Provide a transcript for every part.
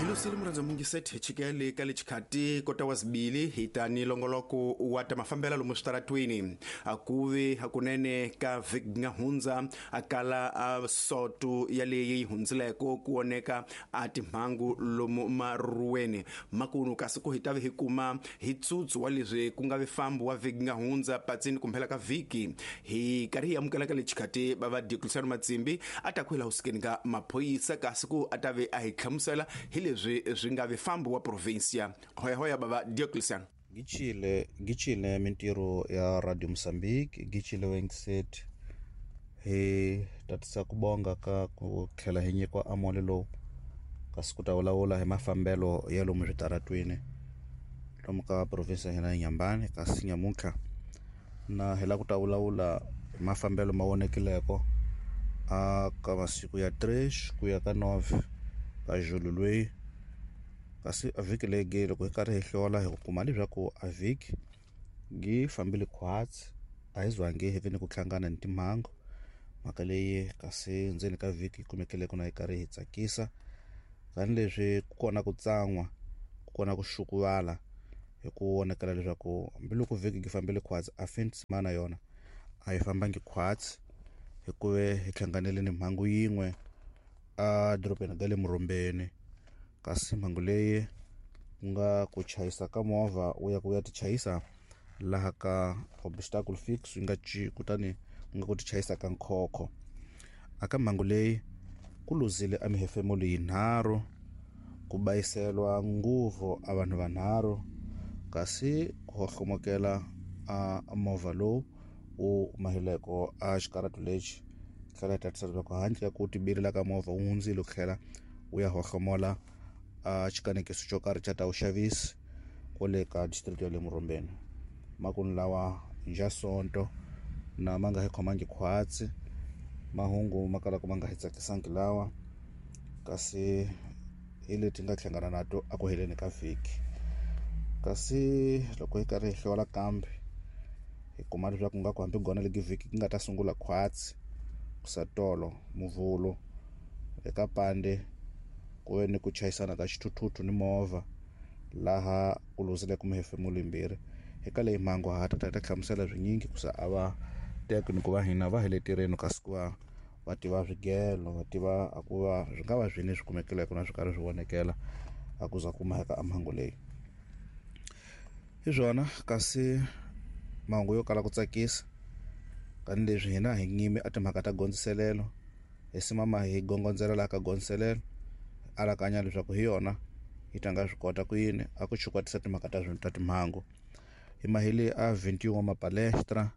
Hilusile murhandza mungiseti hi chikele ka lexikhati kota wa zibili hi ta ni longoloko wa ta mafambela lomu switaratwini. A ku vi hakunene ka vhiki nga hundza a kala a soto ya leyi hundzileko ku oneka a timhangu lomu maruweni makunu, kasi ku hi ta vi hi kuma hi tsutsu wa leswi ku nga vifambo wa vhiki nga hundza patsini kumphela ka vhiki. Hi karhi hi amukela ka lexikhati va va Diocleciano Matsimbi a ta ku hi laha husikeni ka maphorisa, kasi ku a ta ve a hi hlamusela hi leswi swi nga vifambo wa provincia. Hoyahoya bava Diocleciano. Gichile gichile mintirho ya Radio Mozambique, gichile wengiset hi tatisa ku bonga ka ku tlhela hi nyikiwa amole lowu, kasi ku ta vulavula hi mafambelo ya lomu switaratwini lomu ka province ya hina ya Nyambani. Kasi nyamuntlha na hi lava ku ta vulavula hi mafambelo ma vonekileko a ka masiku ya 3 ku ya ka 9 ka Julu lweyi. Kasi a vhiki leyi loko hi karhi hi hlola hi kuma leswaku a vhiki yi fambile khwatsi, a hi zwangi hi vi ni ku hlangana ni timhangu. Mhaka leyi kasi ndzeni ka vhiki yi kumekile ku na yi karhi hi tsakisa, tanihileswi ku kona ku tsan'wa, ku kona ku xukuvala hi ku vonakala leswaku hambiloko vhiki yi fambile khwatsi, a fin de semana yona a yi fambangi khwatsi, hikuva hi hlanganile ni mhangu yin'we a dorobeni ra le Murhombeni. Kasi mhangu leyi ku nga ku chayisa ka movha wu ya ku ya tichayisa laha ka obstacle fix yi nga ci, kutani ku nga ku tichayisa ka nkhokho. A ka mhangu leyi ku luzile a mihefemulo yinharhu, ku bayiselwa nguvu a vanhu vanharhu, kasi ku hohlomokela a movha lowu wu mahileko a xikaratu lexi. Tlhela hi tatisa leswaku handle ka ku tibilela ka movha wu hundzile ku tlhela wu ya hohlomola a xikanekiso xo karhi xa ta vuxavisi kwale ka district ya le Murhombeni. Makunu lawa nja sonto na ma nga hi khomangi khwatsi, mahungu ma kalaka ma nga hi tsakisangi lawa, kasi hi leti nga hlangana na to a ku heleni ka vhiki. Kasi loko hi karhi hi hlola kambe hi kuma leswaku nga ku hambi gona legi vhiki ku nga ta sungula khwatsi kusatolo Muvhulu eka pande ku ve ni ku chayisana ka xithuthuthu ni movha laha ku luzileke mihefemulo yimbirhi. Eka leyi mhangu ha ta ta hi ta hlamusela swinyingi ku sa a va teki ni ku va hina va hi le tirheni, kasi ku va va tiva swigelo, va tiva a ku va swi nga va swini swi kumekileke na swi karhi swi vonekela a ku za ku maheka a mhangu leyi. Hi swona kasi mahungu yo kala ku tsakisa, tanihileswi hina hi nyimi a timhaka ta gondziselelo, hi simama hi gongondzela laha ka gondziselelo, alakanya leswaku hi yona yi ta nga swi kota ku yini a ku chukwatisa timhaka ta ta timhangu. Hi mahele a 21 wa mapalestra,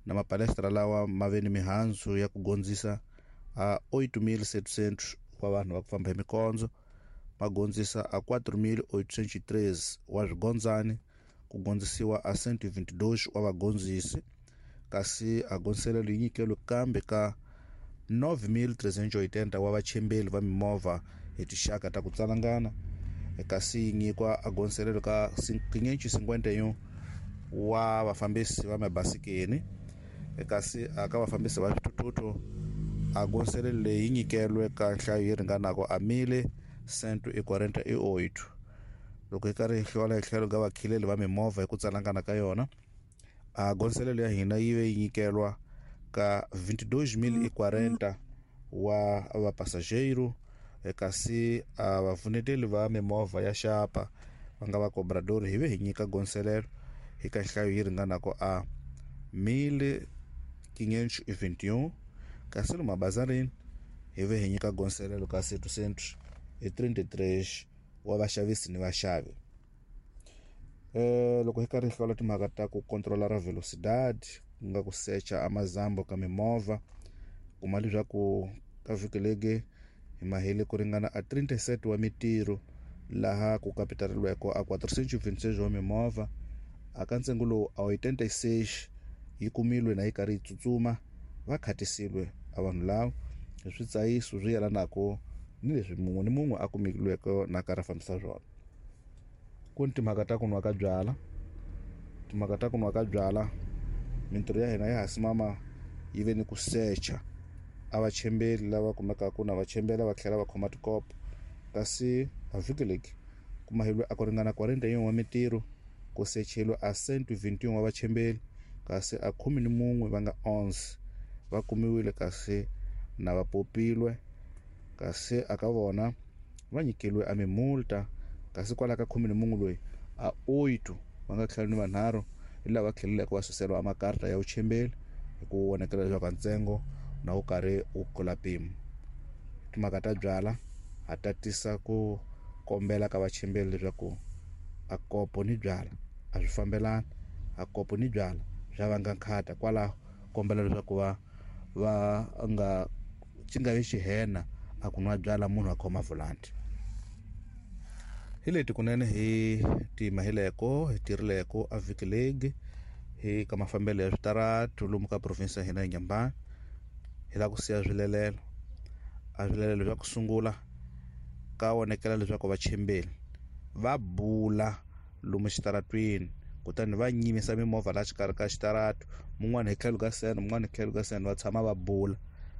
na mapalestra lawa ma ve ni mihandzu ya ku gondzisa a 8.700 wa vanhu va ku famba hi mikondzo, ma gondzisa a 4.813 wa swigondzani, ku gondzisiwa a 122 wa vagondzisi, kasi a gondziselelo yi nyikelo kambe ka 9.380 wa vachembeli va mimovha hi tinxaka ta ku tsalangana, kasi yi nyikwa a gondziselelo ka 551 wa vafambisi va mabasikeni, kasi a ka vafambisi va swithuthuthu a gondziselelo leyi yi nyikelwe ka nhlayo yi ringanaka a 1.148. Loko hi karhi hi hlola hi tlhelo ka vakhileli va mimovha hi ku tsalangana ka yona, a gondziselelo ya hina yi ve yi nyikelwa ka 22.040 wa vapasajeiro, kasi a vapfuneteli va mimovha ya xapa va nga va cobrador hi ve hi nyika gondziselelo hi ka nhlayo yi ringanaka a 1.521, kasi lomu mabazarini hi ve hi nyika gondziselelo ka 733 wa vaxavisi ni vaxavi. Loko hi karhi hi hlola timhaka ta ku controla ra velocidad, ku nga ku secha a mazambo ka mimovha, kuma leswaku ka vhiki legi hi mahele ku ringana a 37 wa mitirho laha ku kapitaleriweke a 426 wa mimovha. A ka ntsengo lowu a 86 yi kumilwe na yi karhi yi tsutsuma, va khatisile a vanhu lava hi switsayiso swi yelanaka ni leswi mun'we ni mun'we a kumilweke na karhi a fambisa swona. Ku ni timhaka ta ku nwa ka byala, timhaka ta ku nwa ka byala, mintirho ya hina ya ha simama yi ve ni ku secha a vachembeli lava kumekaka na vachembela va tlhela va khoma tikopo, Kasi a vhiki leki ku mahilwe a ku ringana 41 wa mintirho, ku secheliwe a 121 wa vachembeli, kasi a 11 va nga 11 va kumiwile kasi na va popilwe, kasi aka vona va nyikeliwe a mimulta, kasi kwala ka 11 loyi a 8 va nga tlhelo ni vanharhu hi lava tlheleleke va suseriwa makarta ya vuchembeli hi ku vonakela leswaku ntsengo na wu karhi wu kula mpimo. Timhaka ta byala ha tatisa ku kombela ka vachembeli leswaku a kopo ni byala a swi fambelani, a kopo ni byala swa vanga nkhata, kwalaho kombela leswaku va nga xi nga vi xihena a ku nwa byala munhu a khoma volanti. Hi leti kunene hi timahileko hi tirhileko a vhiki legi hi ka mafambelo ya switaratu lomu ka province ya hina ya Inhambane. Hi lava ku siya swilelelo, a swilelelo swa ku sungula ka vonekela leswaku vachembeli va bula lomu xitaratwini, kutani va nyimisa mimovha laha xikarhi ka xitaratu, mun'wana hi tlhelo ka seno, mun'wana hi tlhelo ka seno, va tshama va bula.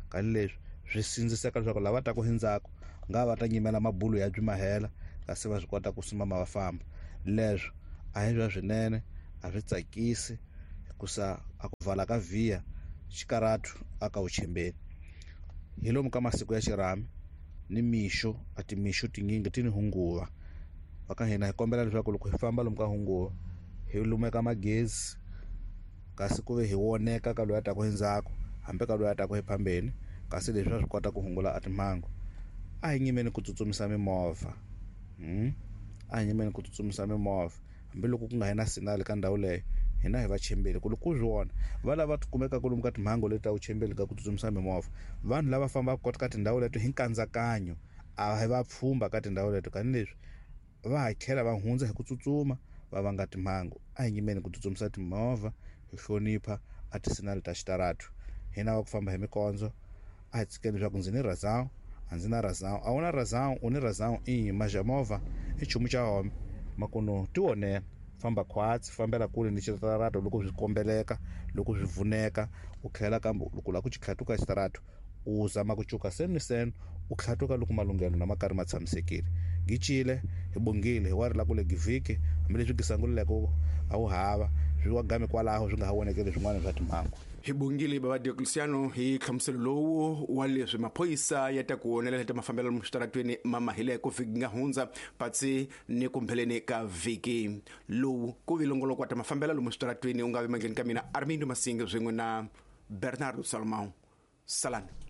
Kani leswi swi sindziseka leswaku lava taka hi ndzhaku nga va ta nyimela mabulu ya byi mahela, kasi va swi kota ku simama va famba. Leswo a hi swa swinene, a swi tsakisi, hikusa a ku vala ka vhiya xikaratu a ka vuchembeli. Hi lomu ka masiku ya xirhami ni mixo, a timixo tinyingi ti ni hunguva. Va ka hina hi kombela leswaku loko hi famba lomu ka hunguva hi lumeka magezi, kasi ku ve hi voneka ka loyi a taka hi ndzhaku hambi ka loyi a taka hi phambeni, kasi leswi swa swi kota ku hungula a timhangu. A hi nyimeni ku tsutsumisa mimovha, a hi nyimeni ku tsutsumisa mimovha hambiloko ku nga hi na sinali ka ndhawu leyo, hina hi vachembeli ku loko u swi vona va lava kumekaka lomu ka timhangu leti ta vuchembeli ka ku tsutsumisa mimovha, vanhu lava fambaka ka tindhawu leto hi nkandzakanyo a hi va pfhumba ka tindhawu leto, kani leswi va ha tlhela va hundza hi ku tsutsuma va vanga timhangu. A hi nyimeni ku tsutsumisa timovha, hi hlonipha a tisinali ta xitaratu. Hina va ku famba hi mikondzo a hi tshikeni leswaku ndzi ni razão, a ndzi na razão, a wu na razão, u ni razão, i maja movha i nchumu xa home makuno ti vonela, famba khwatsi, fambela kule ni xitaratu loko swi kombeleka, loko swi vuneka, u tlhela kambe loko u lava ku xi tlhatuka xitaratu u zama ku cuka seno ni seno, u tlhatuka loko malunghelo na ma karhi ma tshamisekile. Gicile hi bongile hi wa ri la kule givhiki, hambileswi gisanguleleko a wu hava swi wa game kwalaho swi nga ha vonekeli swin'wana swa timhangu. Hi bongile baba Diocleciano hi hlamuselo lowu wa leswi maphorisa ya ta ku wonelela ta mafambelo lomu switaratweni ma mahileko vhiki nga hundza patsi ni kumbheleni ka vhiki lowu ku vi longoloko wa ta mafambelo lomu switaratweni u nga vi mandleni ka mina Armindo Masingi swin'we na Bernardo Salomão. Salani.